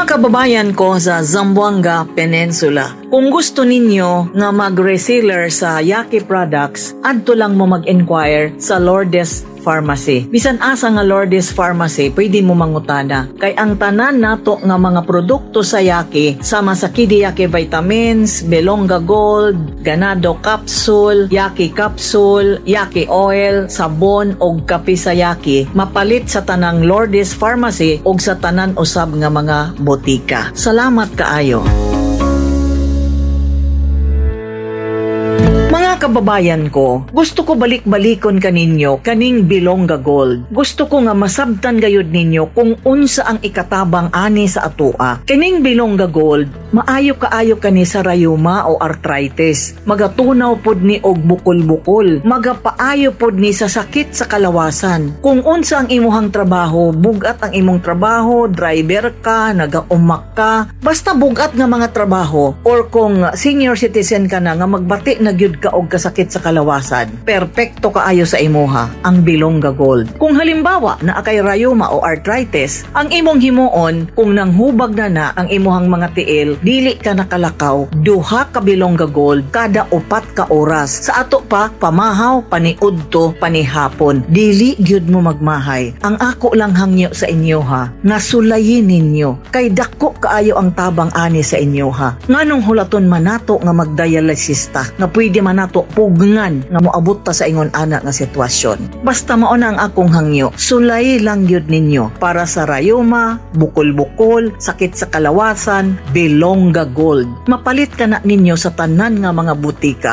Mga kababayan ko sa Zamboanga Peninsula, kung gusto ninyo nga mag-reseller sa Yaki products, adto lang mo mag-inquire sa Lourdes Pharmacy. Bisan asa nga Lourdes Pharmacy, pwede mo mangutana. Kay ang tanan nato nga mga produkto sa Yaki, sama sa Kidiyaki Vitamins, Belonga Gold, Ganado Capsule, Yaki Capsule, Yaki Oil, sabon og kape sa Yaki, mapalit sa tanang Lourdes Pharmacy og sa tanan usab nga mga botika. Salamat kaayo. Mga kababayan ko, gusto ko balik-balikon kaninyo kaning Bilongga Gold. Gusto ko nga masabtan gayud ninyo kung unsa ang ikatabang ani sa atoa. Kining Bilongga Gold, maayo kaayo kani sa rayuma o arthritis. Magatunaw pod ni og bukol-bukol. Magapaayo pod ni sa sakit sa kalawasan. Kung unsa ang imuhang trabaho, bugat ang imong trabaho, driver ka, nagaumak ka, basta bugat nga mga trabaho, or kung senior citizen ka na nga magbati na gyud ka og kasakit sa kalawasan, perpekto kaayo sa imuha ang Bilongga Gold. Kung halimbawa naa kay rayuma o arthritis, ang imong himuon kung nanghubag na na ang imuhang mga tiil, dili ka nakalakaw, duha ka Bilongga Gold kada 4 ka oras. Sa ato pa, pamahaw, paniudto, panihapon. Dili gyud mo magmahay. Ang ako lang hangyo sa inyo ha, nga sulayin ninyo kay dako kaayo ang tabang ani sa inyo ha. Nganong hulaton man nato nga magdialysis ta, nga pwede man nato pugngan nga moabot ta sa ingon ana nga sitwasyon. Basta mao na ang akong hangyo, sulay lang gyud ninyo para sa rayuma, bukol-bukol, sakit sa kalawasan, Bilongga Gold. Mapalit ka na ninyo sa tanan nga mga butika.